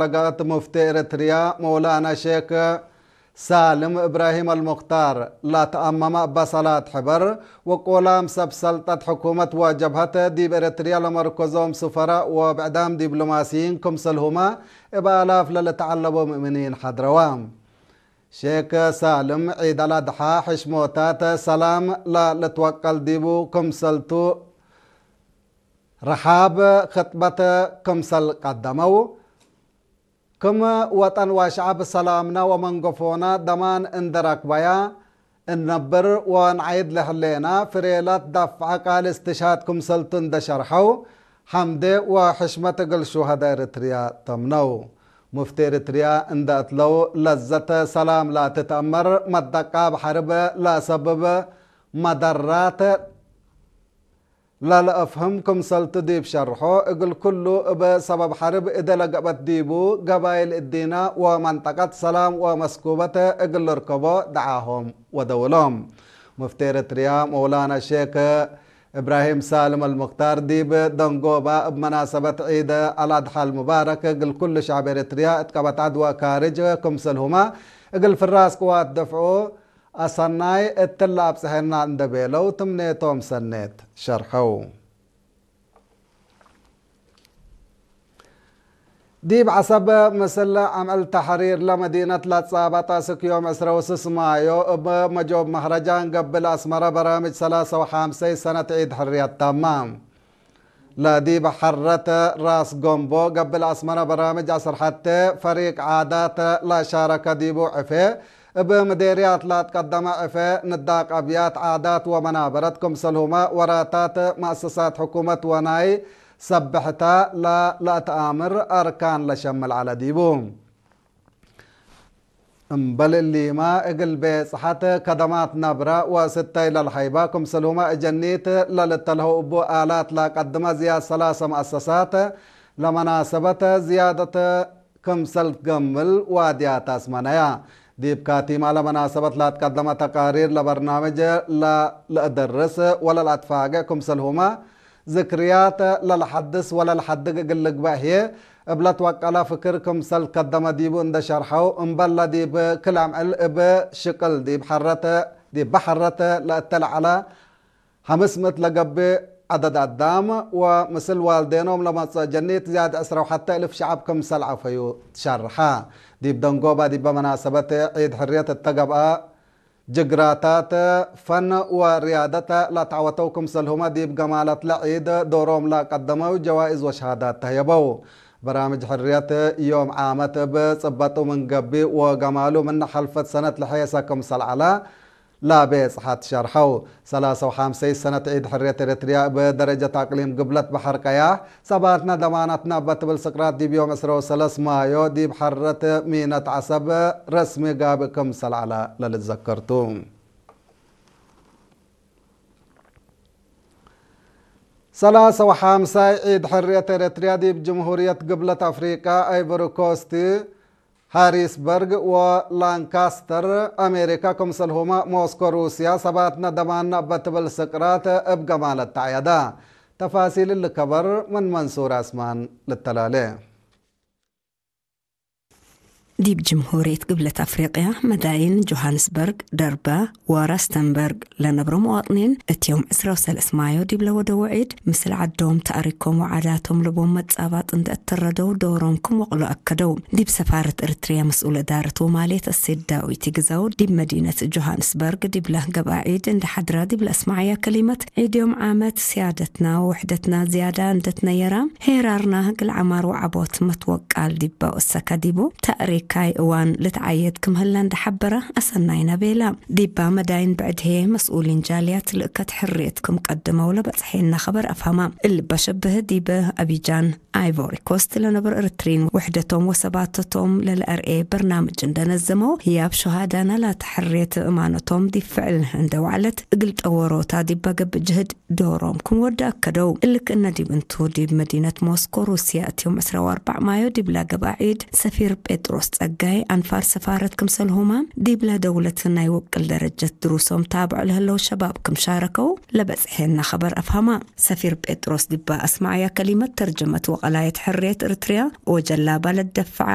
ለጋእት ሙፍቲ ኤርትርያ መውላና ሼክ ሳልም እብራሂም ኣልሙኽታር ላተኣመመ በሰላት ሕበር ወቆላም ሰብ ሰልጠት ሕኩመት ወጀብሀት ዲብ ኤርትርያ ለመርኮዞም ስፈራ ወብዕዳም ዲብሎማሲይን ክምሰልሁማ እብ ኣላፍ ለልተዓለቦ ሙእምኒን ሓድረዋ። ሼክ ሳልም ዒድ ኣልኣድሓ ሕሽሞታት ሰላም ለልትወቀል ዲቡ ክምሰልቱ ረሓብ ኽጥበት ክምሰል ቀደመው። ክም ወጠን ወሸዓብ ሰላምና ወመንገፎና ደማን እንደ ረክበያ እንነብር ወንዓይድ ለህሌና ፍሬላት ዳፍዐ ቃል እስትሽሃድ ክምሰልቱ እንደ ሸርሐው፣ ሐምዴ ወሕሽመት እግል ሹሀዳ ኤርትርያ ተምነው። ሙፍቲ ኤርትርያ እንደ እትለው ለዘተ ሰላም ላትትአመር መደቃብ ሐርብ ለሰብብ መደራት ለልአፍህም ክምሰልቱ ዲብ ሸርሖ፣ እግል ኩሉ እብ ሰበብ ሐርብ እደ ለገበት ዲቡ ገባይል እዲና ወመንጠቀት ሰላም ወመስኩበት እግል ልርከቦ ደዓሆም ወደውሎም። ሙፍቲ ኤርትርያ መውላና ሼክ እብራሂም ሳልም አልሙክታር ዲብ ደንጎባ እብ መናሰበት ዒድ አልአድሓ አልሙባረክ እግል ኩሉ ሸዕብ ኤርትርያ እት ቀበት ዐድ ወካርጅ ክምሰልሁማ እግል ፍራስ ቅዋት ደፍዑ አሰናይ እትለ አብጽሐና እንደ ቤለው ትምኔቶም ሰኔት ሸርሐው። ዲብ ዐሰብ ምስል አምዕል ተሕሪር ለመዲነት ለትጻበጠ ስክ ዮም ዕስረ ወስስ ማዮ እብ መጆብ መህረጃን ገብል አስመረ በራምጅ ሰላሰ ወሓምሰይ ሰነት ዒድ ሕርየት ተማ። ለዲብ ሐረት ራስ ጎምቦ ገብል አስመረ በራምጅ አስር ሐቴ ፈሪቅ ዓዳት ለሻረከ ዲቡ ዕፌ እብ ምዴርያት ለትቀደመ ዕፌ ንዳቅ አብያት ዓዳት ወመናበረት ክምሰልሁመ ወራታት መአሰሳት ሕኩመት ወናይ ሰብሕታ ለለአትአምር አርካን ለሸምል ዐለ ዲቡ። እምበል እሊማ እግል ቤጽሐት ከደማት ነብረ ወስተይ ለልሀይባ ክምሰልሁመ እጀኒት ለልተልሀው እቡ አላት ለቀድመ ዝያድ ሰላሰ መአሰሳት ለመናሰበት ዝያደት ክምሰል ትገምል ዋድያት አስመነያ። ዲብ ካቲማ ለመናሰበት ለትቀደመ ተቃሪር ለበርናምጅ ለልአደርስ ወለልአትፋገ ክምሰልሁመ ዝክርያት ለልሐድስ ወለልሐድግ እግል ልግበእ ህዬ፣ እብ ለትወቀለ ፍክር ክምሰል ከደመ ዲቡ እንደ ሸርሐው፣ እምበል ለዲብ ክል አምዕል እብ ሽቅል ዲብ ሐረት፣ ዲብ በሐረት ለእተለዐለ ሐምስ ምእት ለገብእ ዐደድ አዳም ወምስል ዋልዴኖም ለመጽኦ ጀኒት ዝያድ ዕስረ ወሐተ እልፍ ሸዐብ ክምሰል ዐፈዩ ትሸርሐ። ዲብ ደንጎባ ዲበ መናሰበት ዒድ ሕርየት እተ ገብአ ጅግራታት ፈን ወርያደት ለተዐወተው ክምሰልሁመ ዲብ ገማለትለ ዒድ ዶሮም ለቀደመው ጀዋኢዝ ወሸሃዳት ተህየበው። በራምጅ ሕርየት ዮም ዓመት እብ ጽበጡ ምን ገቢእ ወገማሉ ምን ሐልፈት ሰነት ለሐየሰ ክምሰል ዐለ ለቤጽሐት ሸርሐው። ሰላሰ ወሓምሰይ ሰነት ዒድ ሕርየት ኤረትርያ እብ ደረጀት አቅሊም ግብለት በሐር ቀያሕ ሰባትነ ደማናትነ እበ ትብል ስቅራት ዲብ ዮም ዕስረ ወሰለስ ማዮ ዲብ ሐረት ሚነት ዐሰብ ረስሚ ጋብእ ክምሰል ዐለ ለልትዘከር ቱ። ሰላሰ ወሓምሳይ ዒድ ሕርየት ኤረትርያ ዲብ ጅምሁርየት ግብለት አፍሪቃ አይቮሪ ኮስት ሃሪስበርግ ወላንካስተር አሜሪካ፣ ክምሰልሁመ ሞስኮ ሩስያ፣ ሰባትነ ደማንነ እበ ትብል ስቅራት እብ ገማለት ተዐየዳ። ተፋሲል እሊ ከበር ምን መንሱር አስማን ልተላሌ። ዲብ ጅምሁርየት ግብለት አፍሪቅያ፣ መዳይን ጆሃንስበርግ፣ ደርባ ወራስተንበርግ ለነብሮ መዋጥኒን፣ እት ዮም ዕስራ ወሰለስ ማዮ ዲብ ለወደዎ ዒድ፣ ምስል ዐዶም፣ ተእሪኮም ወዓዳቶም ለቦም መጻባጥ እንደ እትረደው ዶሮም ክም ወቅሎ አከደው። ዲብ ሰፋረት ኤርትርያ መስኡል እዳረት ወማልየት እሴት ዳዊት ይግዛው፣ ዲብ መዲነት ጆሃንስበርግ ዲብለ ገብአ ዒድ እንደ ሐድራ ዲብ ለአስመዐያ ከሊመት፣ ዒድ ዮም ዓመት ስያደትና ወውሕደትና ዝያዳ እንደ ትነየራ፣ ሄራርና እግል ዐማር ወዐቦት መትወቃል ዲበ ወሰከ ዲቡ፣ ተእሪካይ እዋን ልትዓየድ ክም ህለ እንደ ሐበረ፣ አሰናይነ ቤላ። ዲባ መዳይን ብዕድ ህዬ መስኡሊን ጃልያት ልእከት ሕርየት ክም ቀድመው ለበጽሐና ኸበር አፍሀማ። እሊ በሸብህ ዲብ አቢጃን አይቮሪ ኮስት ለነብር ኤርትሪን ውሕደቶም ወሰባተቶም ለለአርኤ በርናምጅ እንደነዘመው፣ ህያብ ሸሃዳና ላተ ሕርየት እማነቶም ዲብ ፍዕል እንደ ወዕለት እግል ጠወሮታ ዲበ ገብእ ጅህድ ዶሮም ክም ወደ አከደው። እሊ ክእነ ዲብ እንቱ ዲብ መዲነት ሞስኮ ሩስያ እት ዮም ዕስራ ወአርባዕ ማዮ ዲብላ ገብአ ዒድ ሰፊር ጴጥሮስ ጸጋይ ኣንፋር ሰፋረት ክምሰልሁማ ዲብላ ደውለት ናይ ውቅል ደረጀት ድሩሶም ታብዕ ለህለው ሸባብ ክምሻረከው ለበጽሔና ኸበር ኣፍሃማ። ሰፊር ጴጥሮስ ዲባ ኣስማዕያ ከሊመት ተርጀመት ወቐላየት ሕርየት እርትርያ ወጀላ ባለት ደፍዓ